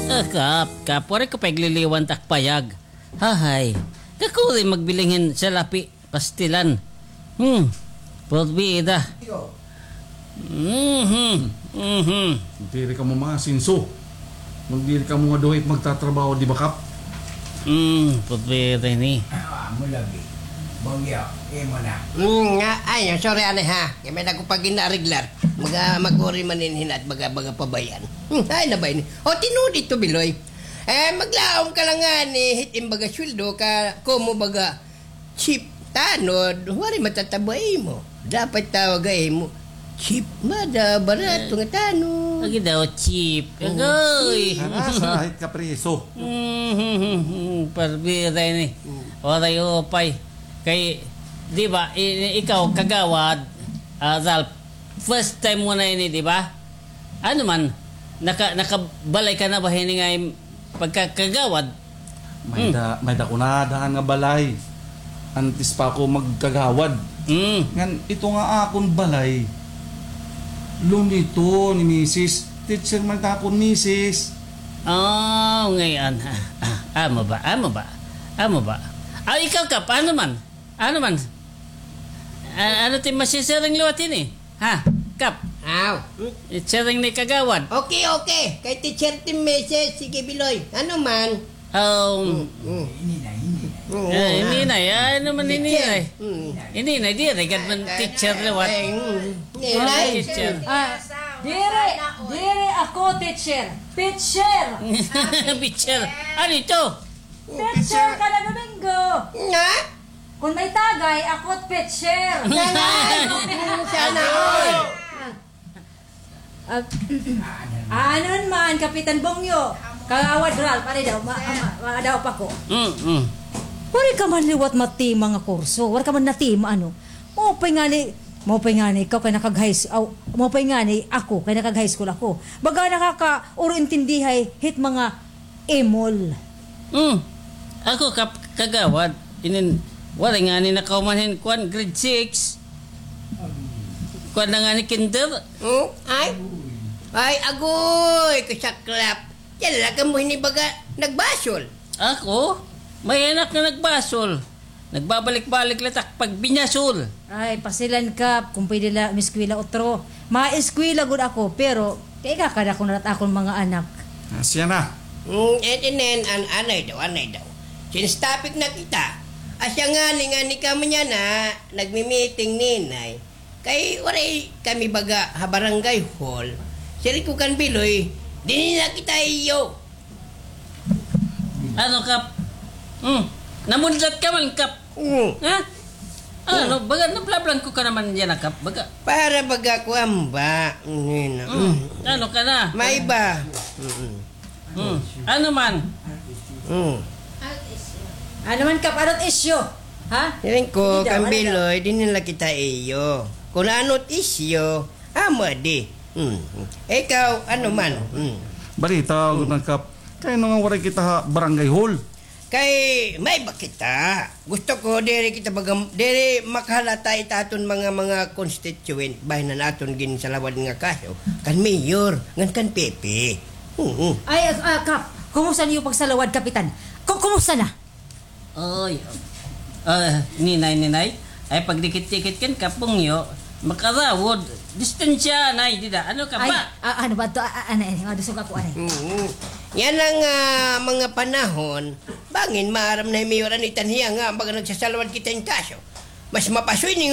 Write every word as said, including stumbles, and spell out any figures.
Ah, Kap, Kap, waray ko pa igliliwan tak payag. Hahay. Kakuri magbiling hin salapi, pastilan. Hmm. Porbida. Mhm. Mhm. Diri kamo mga sinso. Magdiri kamo nga duha it magtatrabaho, di ba, Kap? Hmm, porbida ini. Ah, amo lagi. Bongyo, imo na. Hmm, nga, ay, sorry, anay, ha. Kay may dako pa gin-areglar. Maga-, maguri man ini hin at baga-baga pa ba yan? Hmm, ay, na ba ini? O, tinuod ito, Biloy. Eh, maglaom ka la ngani, hit im baga sweldo ka, komo baga chief tanod, waray matatabo ha imo. Dapat tawag ha imo, chief, mada, barato nga tanod. Lagi daw, chief. Oo. Agoy. Ana, sa hit kapriso. Hmm, parbira ini. Hmm. Waray upay. Kay, di ba, i-, ikaw, kagawad, ah, Ralph, first time mo na ini, di ba? Ano man, naka-, nakabalay ka na ba hini nga im-, pagkakagawad? May Hmm. da-, may dako na daan nga balay. Antes pa ako magkagawad. Hmm. Ngan, ito nga akon balay, loan ito ni misis. Teacher man ta akon misis. Oh, ngayon. Ah, ah, amo ba? Amo ba? Amo ba? Ah, ikaw, Kap, ano man? Ano man? Ah, ano ti masisiring liwat ini? Ha? Kap? Aw. Siring ni kagawad. Okay, okay. Kay teacher ti misis, sige, Biloy. Ano man? Um, Mm, mm. Oo, Eh, ah. Ininay, ah, ano man Teacher. Ininay? Mm. Ininay, di, agad man teacher liwat. Eh, mm. Ah, Ininay. Teacher. Ah, diri, diri ako teacher. Pitcher. Pitcher. Ano ito? Pitcher ka na Domingo. Nga? Kon may tagay, ako't pitcher. Nanay! Sana all! Ah, aanon man, Kapitan Bongyo. Kagawad Ralph, ano daw, ma-, ma-, ma-, daw pa ko. Mm, mm. Waray ka man liwat matima nga kurso, waray ka man natima, ano. Maupay ngani, maupay ngani ikaw kay nakag-high s-, aw, maupay ngani ako kay nakag-high school ako. Baga nakakauro intindihay hit mga Imol. Hmm. Ako, kap-, kagawad. Inin, waray ngani nakahuman hin kuan, grade six. Kuan na ngani, kinder. Hmm? Ay? Ay, agoy, kasaklap. Yan la kamo hinibaga, nagbasol. Ako? May anak nga nagbasol. Nagbabalik-balik la tak pagbinasol. Ay, pasilan ka, kon pwede la umiskwela utro. Maeskwela gud ako, pero kay kakadako na la it akon mga anak. Ah, siya na. Mm, eh, tinen, an-, anay daw, anay daw. Since topic na kita, asya ngani nga ni kamo niyan na, nagmi-meeting ninay. Kay waray kami baga ha barangay hall. Siring ko kan Biloy, dinhi na kita iyo. Ano, Kap? Hmm. Namudlat ka man, Kap. Hmm. Ha? Ano, baga, nablablangko ka naman yana, Kap. Baga. Para baga kuan ba? Ano ka na? May ba? Mm. Hmm. Ano man? Mm. Ano man, Kap? Ano't isyu? Ha? Siring ko, kan Biloy, dinhi la kita iyo. Kon ano't isyu, amo di. Hmm. Ikaw, ano man? Hmm. Balita, Kap. Kay ano nga waray kita ha barangay hall? Kay may ba kita? Gusto ko, diri kita baga-, diri makahalata it aton mga, mga constituent, bahin han aton ginsalawad nga kaso, kan mayor, ngan kan P P. Oo. Ay, ah, ah, Kap, kumusta niyo pagsalawad, Kapitan? Ku-, kumusta na? Oy, ah, ninay, ninay. Ay, pagdikit-dikit kan Kap Bongyo, makarawod. Distansya, nay, dida. Ano ka ba? Ay, ah, ano ba to? Ah, ah, anay, anay, madusog ako, anay. Mm. Yana nga, ah, mga panahon, bangin maaram na hi Mayor an itan hiya nga, baga nagsasalawad kita hin kaso. Mas mapasoy ni nga